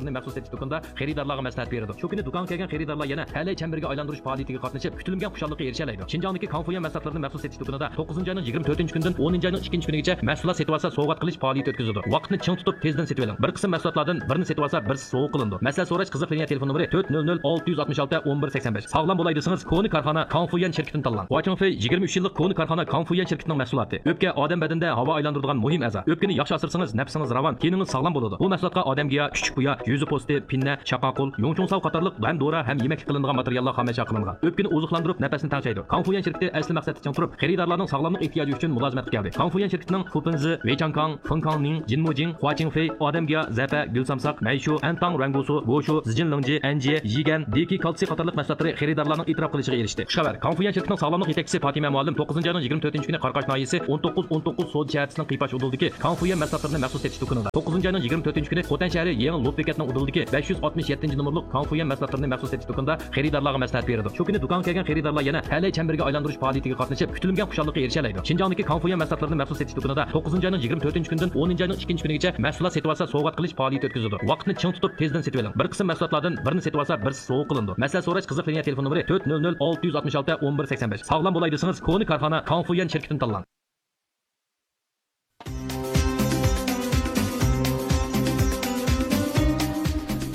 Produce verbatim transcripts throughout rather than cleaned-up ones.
مەھسۇلاتلىرىنى مەخسۇس سېتىش دۇكىنىدا خېرىدارلارغا مەسلىھەت بېرىدۇ. شۇ كۈنى دۇكانغا كەلگەن خېرىدارلار يەنە تەلەي چەمبىرىگە ئايلاندۇرۇش پائالىيىتىگە قاتنىشىپ، كۈتۈلمىگەن خۇشاللىققا ئېرىشەلەيدۇ. شىنجاڭدىكى كاڭفۇيۈەن مەھسۇلاتلىرىنى مەخسۇس سېتىش دۇكىنىدا توققۇزىنچى ئاينىڭ يىگىرمە تۆتىنچى كۈنىدىن ئونىنچى ئاينىڭ ئىككىنچى كۈنىگىچە مەھسۇلات سېتىۋالسا سوۋغات قىلىش پائالىيىتى ئۆتكۈزىدۇ. ۋاقىتنى چىڭ تۇتۇپ، تېزدىن سېتىۋېلىڭ. بىر قىسىم مەھسۇلاتلاردىن بىرنى سېتىۋالسا، بىرسى سوۋغا قىلىنىدۇ. مەسىلە سوراش قىزىق لىنىيە تېلېفون نومۇرى تۆت نۆل نۆل ئالتە يۈز ئاتمىش ئالتە ئون بىر سەكسەن بەش. ساغلام بولاي دېسىڭىز، كونا كارخانا كاڭفۇيۈەن شىركىتىنى تاللاڭ. خۇاچىڭفېي يىگىرمە ئۈچ يىللىق كونا كارخانا كاڭفۇيۈەن شىركىتىنىڭ مەھسۇلاتى. ئۆپكە، ئادەم بەدىنىدە ھاۋا ئايلاندۇرىدىغان مۇھىم ئەزا. ئۆپكىنى ياخشى ئاسرىسىڭىز، نەپسىڭىز راۋان، تېنىڭىز ساغلام بولىدۇ. بۇ مەھسۇلاتقا ئادەمگىيا، كۈچۈك بۇيا، يۈزى پوستى، پىننە، چاقاقۇل، يۇڭچۇڭساۋ قاتارلىق ھەم دورا، ھەم يېمەكلىك قىلىنىدىغان ماتېرىياللار خامەششا قىلىنغان. ئۆپكىنى ئوزۇقلاندۇرۇپ، نەپەسنى تەڭشەيدۇ. كاڭفۇيۈەن شىركىتى ئەسلى مەقسەتتە چىڭ تۇرۇپ، خېرىدارلارنىڭ ساغلاملىق ئېھتىياجى ئۈچۈن مۇلازىمەتكە كەلدى. كاڭفۇيۈەن شىركىتىنىڭ فۇپىنزى، ۋېيچاڭكاڭ، فېڭكاڭنىڭ، جىنمۇجىڭ، خۇاچىڭفېي، ئادەمگىيا، زەپە، گۈلسامساق، مەيشۇ، ئەنتاڭ رەڭگۇسۇ، بوشۇ، زىجىن لىڭجى، ئەنجىيە، يىگەن، دېكى كالتسىي قاتارلىق مەھسۇلاتلىرى خېرىدارلارنىڭ ئېتىراپ قىلىشىغا ئېرىشتى. خۇشخەۋەر، كاڭفۇيۈەن شىركىتىنىڭ ساغلاملىق يېتەكچىسى پاتىمە مۇئەللىم توققۇزىنچى ئاينىڭ يىگىرمە تۆتىنچى كۈنى قاراقاش ناھىيەسى ئون توققۇز ئون توققۇز سودا شەھەرچىسىنىڭ قىيپاش ئۇدۇلىدىكى كاڭفۇيۈەن مەھسۇلاتلىرىنى مەخسۇس سېتىش دۇكىنىدا، توققۇزىنچى ئاينىڭ يىگىرمە تۆتىنچى كۈنى خوتەن شەھىرى يېڭى لوپ بېكەتنىڭ ئۇدۇلىدىكى بەش يۈز ئاتمىش يەتتىنچى نومۇرلۇق كاڭفۇيۈەن مەھسۇلاتلىرىنى مەخسۇس سېتىش دۇكىنىدا خېرىدارلارغا مەسلىھەت بېرىدۇ. شۇ كۈنى دۇكانغا كەلگەن خېرىدارلار يەنە تەلەي چەمبىرىكى ئايلاندۇرۇش پائالىيىتىگە قاتنىشىپ، كۈتۈلمىگەن خۇشاللىققا ئېرىشەلەيدۇ. شىنجاڭدىكى كاڭفۇيۈەن مەھسۇلاتلىرىنى مەخسۇس سېتىش دۇكىنىدا توققۇزىنچى ئاينىڭ يىگىرمە تۆتىنچى كۈنىدىن ئونىنچى ئاينىڭ ئىككىنچى كۈنىگىچە مەھسۇلات سېتىۋالسا سوۋغات قىلىش پائالىيىتى ئۆتكۈزۈلىدۇ. ۋاقىتنى چىڭ تۇتۇپ، تېزدىن سېتىۋېلىڭ. بىر قىسىم مەھسۇلاتلاردىن بىرنى سېتىۋالسا، بىرسى سوۋغا قىلىنىدۇ. مەسلىھەت سوراش قىزىق لىنىيە تېلېفون نومۇرى تۆت نۆل نۆل ئالتە يۈز ئاتمىش ئالتە ئون بىر سەكسەن بەش. ساغلام بولاي دېسىڭىز، كونا كارخانا كاڭفۇيۈەن شىركىتىنى تاللاڭ.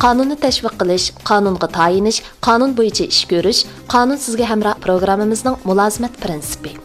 قانۇننى تەشۋىق قىلىش، قانۇنغا تايىنىش، قانۇن بويىچە ئىش كۆرۈش، قانۇن سىزگە ھەمراھ پروگراممىمىزنىڭ مۇلازىمەت پىرىنسىپى.